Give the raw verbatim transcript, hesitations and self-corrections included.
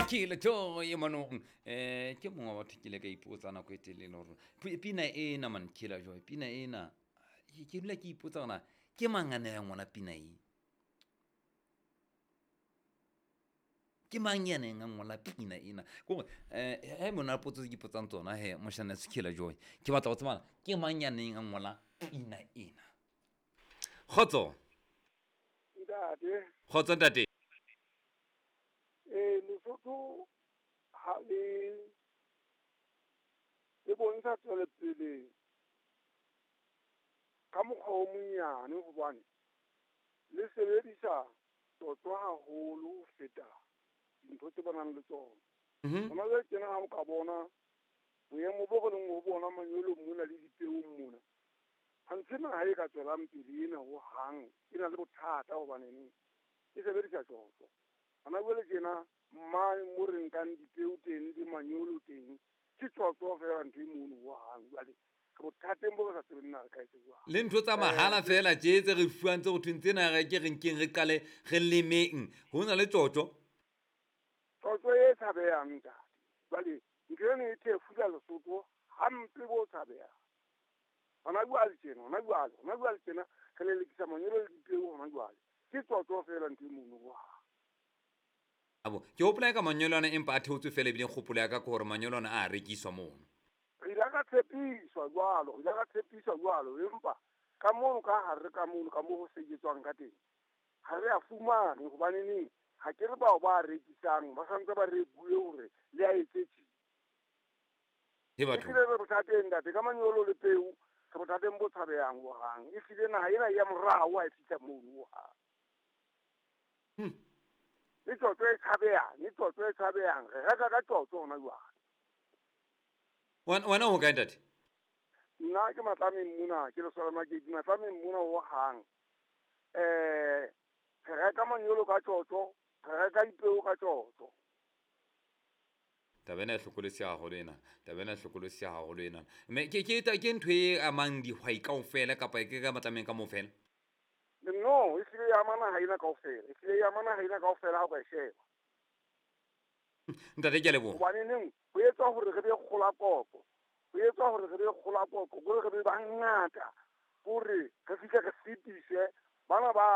Killer Joy manong eh ke mongwe wa batho ke ile ka ipotsa nako e telele gore pina ena man Killer Joy pina ena ke dula ke ipotsa gona ke mang a ne ya ngwana pina e ke mang ya neng a ngola pina ena kore um he mona potso tse ke ipotsang tsona he moshana Killer Joy ke batla go tsebana ke mang ya neng a ngola pina ena. Kgotso ntate. Kgotso ntate. Eh Lesotho ha le le bontsha tswelepele ka mokgwa o monyane hobane le sebedisa tsotso haholo ho feta dintho tse ba nang le tsona. Hona jwale tjena ha o ka bona boemo bo re leng ho bona manyolong mona le dipeong mona, ha ntse naha e ka tswelang pele ena hohang e na le bothata hobaneng e sebedisa tsotso. Hona jwale tjena mane mo re nkang dipeo teng le manyolo teng ke tsotso feela ntho e mono hohang. Jwale re bothateng bo re sa tsebeng na re ka etsa jwang. Le ntho tsa mahala feela tje tse re fuwang tse ho thweng tsena re ke re nkeng re qale re lemeng ho na le tsotso. Tsotso e tshabehang ntate. Jwale ntho eno e thefula Lesotho hampe bo tshabehang. Hona jwale tjena, hona jwale, hona jwale tjena re lelekisa manyolo le dipeo hona jwale. Ke tsotso feela ntho e mono hohang. Abo ke hopola ka manyolo ana empa a theotswe feela ebile kgopolo ya ka ke hore manyolo ana a rekiswa mono. Re ile ka tshepiswa jwalo, re ile ka tshepiswa jwalo empa ka mono ka hare ka mono ka moo ho sebetswang ka teng ha re a fumane hobane neng ha ke re bao ba rekisang ba santse ba re bue hore le a etse tje. He batho. Ehlile re bothateng ntate ka manyolo le peo re bothateng bo tshabehang hohang. Ehlile naha ena ya morao ha e fihla mono hohang. Hmm. Le tsotso e tshabehang, le tsotso e tshabehang. Re reka ka tsotso hona jwale. Wena ho kae ntate? Nna ke Matlameng mona, ke Lesole Makedi, Matlameng mona hohang. Eh re reka manyolo ka tsotso, re reka dipeo ka tsotso. Taba ena e hlokolosi haholo ena, taba ena e hlokolosi haholo ena. Mme ke ke ke ntho e amang dihwai kaofela kapa ke ka Matlameng ka moo fela? No, e hlile ya ama naha ena kaofela, e hlile ya ama naha ena kaofela ha o ka e sheba. Ntate ke a leboha. Hobane neng ho etswa hore re be kgolakoko, ho etswa hore re be kgolakoko, hore re be bangata, hore re fihle re fetise bana ba